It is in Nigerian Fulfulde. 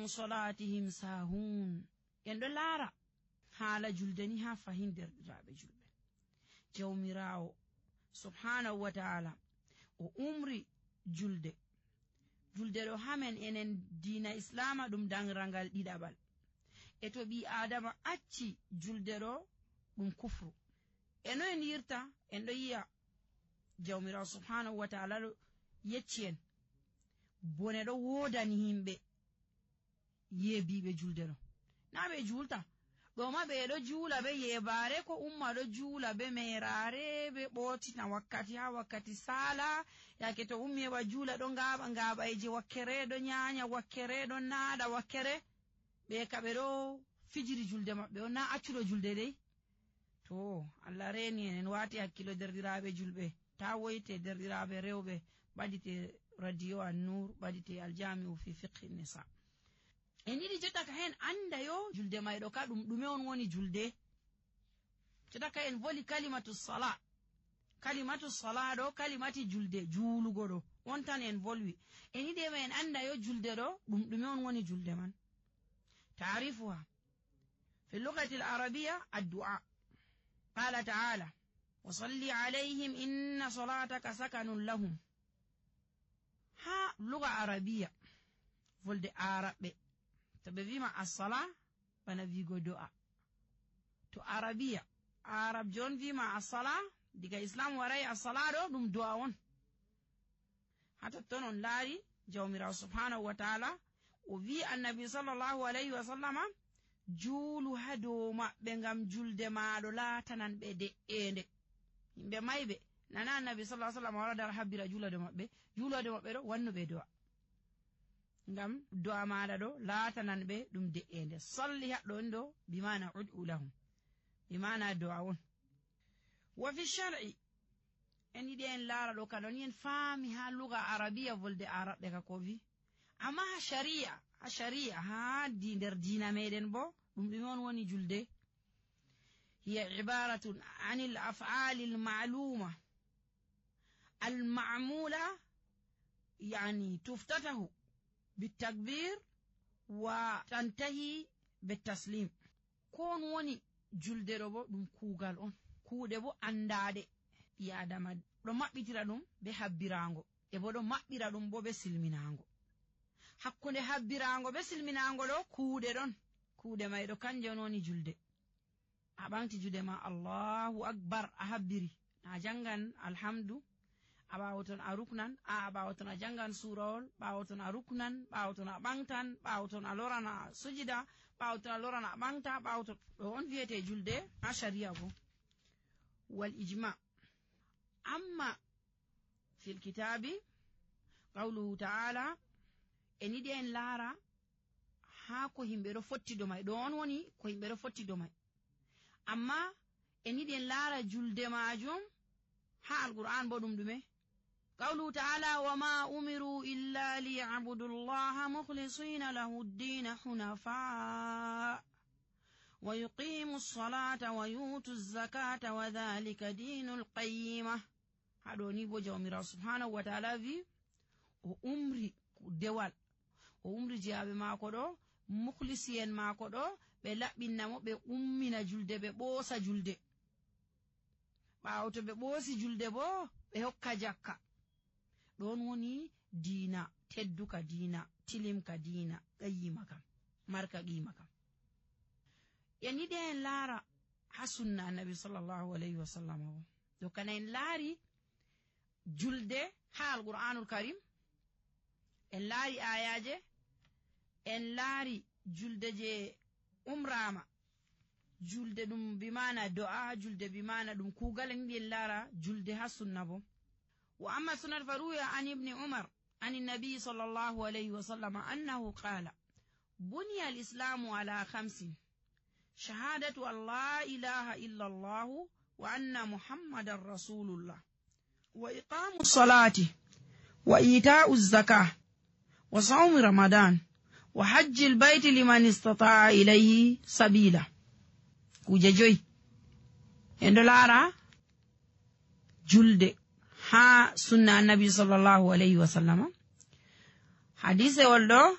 an salatihim sahun. En ɗo laara haala julde ni ha fahin derɗiraaɓe julɓe. Jawmiraawo subhanahu wa ta'ala o umri julde ɗo hamen enen diina islama ɗum danrangal ɗiɗaɓal. E to ɓi adama acci julde ɗo ɗum kufru. E no en yirta en ɗo yi'a jawmirawo subhanahu wa ta'ala ɗo yecci en bone ɗo wodani himɓe yeebiɓe julde ɗo. Na ɓe julta ɗo ma ɓe ɗo juula be yebare, ko umma ɗo juula be merare, be ɓotina wakkati ha wakkati sala, yake to ummi heɓa juula ɗo ngaɓaije wakkere, ɗo nyanya wakkere, ɗo naɗa wakkere, ɓe ka ɓe ɗo fijiri julde maɓɓe on, na accuɗo julde dai. To Allah reni en wati hakkilo derɗiraɓe julɓe, ta woyte derɗiraɓe rewɓe, ɓadite radio an-nur, ɓadite aljami'u fi fiqhi nisa. En yiɗi jotta ka hen anda yo julde mayɗo ka ɗum ɗume on woni julde. Jotta ka en voli kalimatu sala ɗo kalimati julde, juulugo ɗo on tan en volwi. En yiɗi ma en anda yo julde ɗo ɗum ɗume on woni julde man. Ta'rifuha fi lughati al-arabiyya ad-du'a. Qala ta'ala wa salli alayhim inna salataka sakanun lahum. Ha lugha arabiyya volde araɓe to ɓe wima as-sala bana wigo do'a. To arabiya arab jon wima as-sala, diga islam warai as-sala ɗo ɗum do'a on. Ha totton on laari jawmirawo subhanahu wa ta'ala o wi annabi sallallahu alayhi wa sallama juulu ha dow maɓɓe ngam julde maɗo laatanan ɓe de'ende. Yimɓe mayɓe nana annabi sallallahu alayhi wa sallam wara dar habbira juulade maɓɓe ɗo wannuɓe do'a ngam do'a maɗa ɗo laatanan ɓe ɗum de'ende. Salli haɗɗo on ɗo bimana ud'u lahum, bimana do'a on. Wa fi shar'i en yiɗi en laara ɗo kaɗon en faami ha luga arabiya volde araɓɓe ka ko wi, amma ha shari'a ha nder diina meɗen bo ɗum ɗume on woni julde. hiya ibaratun anil af'ali al-ma'luma al-ma'mula, yani tuftatahu بالتكبير وتنتهي بالتسليم. كون وني julde ɗo bo ɗum kuugal on, kuuɗe bo andade ɓi adama ɗo maɓɓitira ɗum be habbirango, e bo ɗo maɓɓira ɗum bo be silminango. Hakkunde habbirango be silminango ɗo kuuɗe ɗon, kuuɗe may ɗo kanje on woni julde. A ɓamti jude ma Allahu akbar a habbiri, a jangan alhamdu, a ɓawoton a ruknan, a ɓawoton a jangan surawol, ɓawoton a ruknan, ɓawoton a ɓangtan, ɓawoton a lorana sujida, ɓawoton a lorana a ɓangta, ɓawoton ɗo on wiyete julde ha sharia bo. Wal ijma. Amma fil kitabi qawluhu ta'ala, en yiɗi en laara ha ko himɓe ɗo fottido may, ɗo on woni ko himɓe ɗo fottido may. Amma en yiɗi en laara julde majum ha alquran bo ɗum ɗume. قوله تعالى وما أمروا إلا ليعبدوا الله مخلصين له الدين حنفاء ويقيموا الصلاة ويؤتوا الزكاة وذلك دين القيمة. هذا نيبو جوميرا سبحانه وتعالى في أمري دوال أمري جاب ما كدو مخلصين ما كدو بلابنا بأمنا جلد ببوسا جلد باوتو ببوسي جلد بو بهوكا جاكا. ɗon woni diina tedduka, diina tilimka, diina qayyima kam, marka qima kam. En yiɗi en laara ha sunna annabi sallallahu alayhi wa sallam o ɗo kana en laari julde ha alqur'anul karim, en laari ayaje, en laari julde je umrama, julde ɗum bimana do'a, julde bimana ɗum kuugal. En yiɗi en laara julde ha sunna bo. وأما السنة فروي عن ابن عمر عن النبي صلى الله عليه وسلم أنه قال بني الإسلام على 5: شهادة أن لا إله إلا الله وأن محمد رسول الله وإقام الصلاة وإيتاء الزكاة وصوم رمضان وحج البيت لمن استطاع إليه سبيلا. كوجي إندلارا جلد ha sunna annabi sallallahu alayhi wa sallam. Hadise wolɗo